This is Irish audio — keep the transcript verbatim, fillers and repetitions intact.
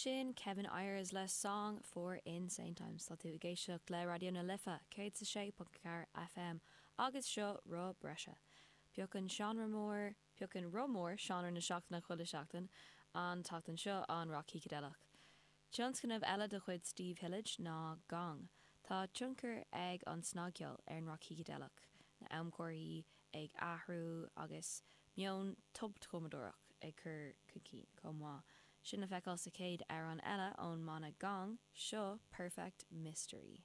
Sin Kevin Ayers le Song for Insane Times. Tá tú ag éisteacht le Raidió na Life céad a sé ponc ceathair F M agus seo Roth Breise. Piocann seánra mór, piocann roth mór seánra na seachtaine chuile seachtain, an tseachtain seo an rock shícideileach. Tionscnamh eile de chuid Steve Hillage ná Gong. Tá tionchar ag an snagcheol ar an rock shícideileach, na amchomharthaí ag athrú agus meon tobchumadóireach ag cur chun cinn chomh maith. Sin le feiceáil sa chéad amhrán eile ón mbanna Gong, seo Perfect Mystery.